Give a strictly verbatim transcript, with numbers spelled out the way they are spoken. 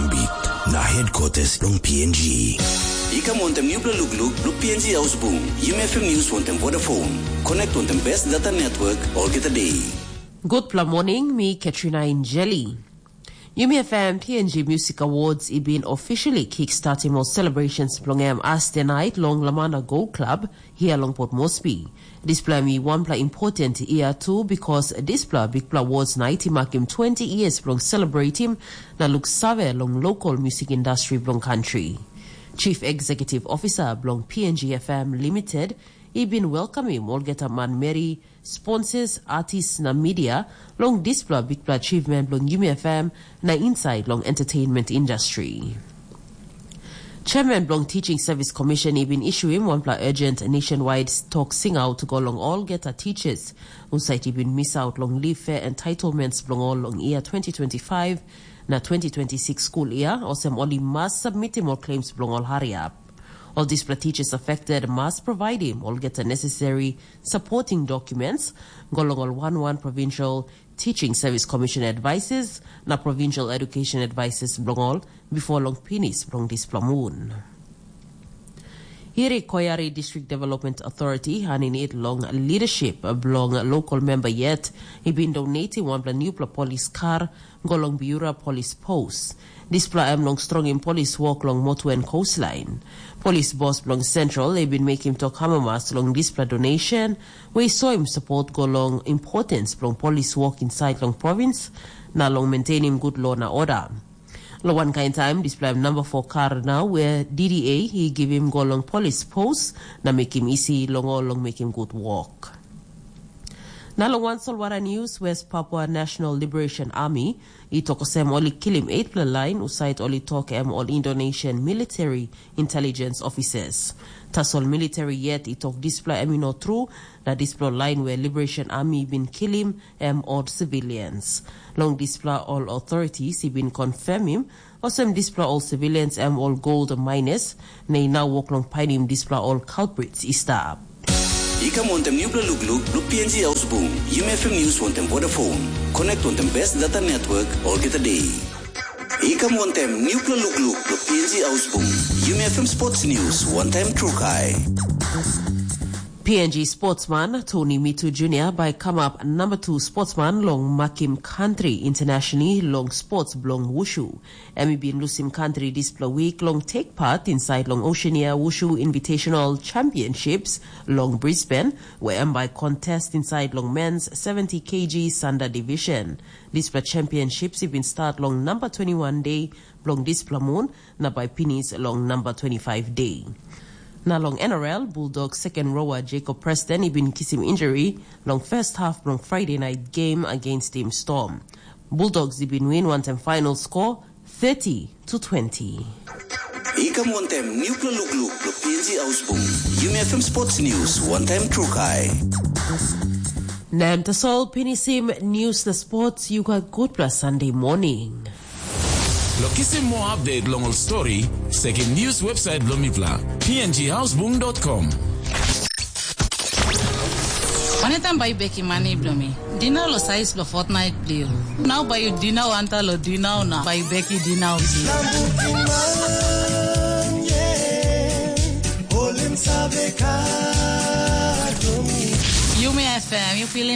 Beat na headquarters long P N G. I kam wantem nupela lukluk long P N G Ausbung, Yumi F M News wantem Vodafone. Connect wantem best data network olgeta day. Gutpela morning, mi Katrina Injeli. Yumi F M P N G Music Awards i bin officially kickstartim ol celebrations bilong em as the night long Lamana Gold Club, hia long Port Moresby. Dispela mi wanpela important year tu, because dispela bikpela awards night i makim twenty years bilong celebratim na luk save long local music industry bilong country. Chief Executive Officer bilong P N G F M Limited i bin welcomim olgeta manmeri, sponsors, artists na media long dispela bikpela achievement bilong Yumi F M na inside long entertainment industry. Chairman bilong Teaching Service Commission i bin issuim wanpela urgent nationwide tok singaut go long olgeta teachers husat i bin misaut long leave fair entitlements bilong ol long year twenty twenty-five na twenty twenty-six school year, olsem ol i mas submitim ol claims bilong ol hariap. Ol dispela teachers affected mas providim olgeta necessary supporting documents go long ol one one provincial Teaching Service Commission advices na Provincial Education Advices bilong ol before long pinis bilong dispela mun. Iri Koyari District Development Authority, haninit long leadership bilong local member yet, i bin donating wanpela newpela polis kar go long Biura Polis Pos. Dispela em long strongim polis wok long motu en coastline. Polis bos bilong Central i bin mekim tok amamas long dispela donation, we i soim sapot go long importans bilong polis wok insait long provins na long maintainim gut lo na oda. Long wankain taim dispela em namba fo kar nau we D D A i givim go long polis pos na mekim isi long ol long mekim gut wok. Na long wan solwara news, West Papua National Liberation Army i tok olsem ol i kilim eightpela lain husat ol i tok em ol Indonesian military intelligence officers. Tasol military yet i tok dispela em i no tru, na dispela lain we Liberation Army i bin kilim em ol civilians. Long dispela ol authorities i bin confirmim olsem dispela ol civilians em ol gold miners, na i nau wok long painim dispela ol culprits i stap. I kam wantem nupela lukluk long P N G Ausbung, Yumi F M News wantem Vodafone. Connect wantem best data network olgeta day. I kam wantem nupela lukluk long P N G Ausbung, Yumi F M Sports News wantaim Trukai. P N G sportsman Tony Mitu Junior bai kamap namba tu sportsman long makim country internationally long sports bilong wushu. Em i bin lusim country dispela wik long take part inside long Oceania Wushu Invitational Championships long Brisbane, where em bai contest inside long men's seventy K G Sanda Division. Dispela championships i bin start long number twenty-one day bilong dispela moon, na bai pinis long number twenty-five day. Na long N R L, Bulldog second rower Jacob Preston i bin kisim injury long first half bilong Friday night game against Team Storm. Bulldogs i bin win wantaim final score thirty to twenty. I kam wantem nupela lukluk long P N G Ausbung, Yumi F M Sports News wantaim Trukai. Na em tasol pinisim news na sports, you got good plus Sunday morning. Long kisim moa update long ol stori, sekim news website bilong mipela, P N G Ausbung dot com. Waneta bai bekim mani bilong mi? Dinau lo sais lo fortnight bilong. Nau bai yu dinau anta lo dinau na bai beki dinau. Yumi F M, you feeling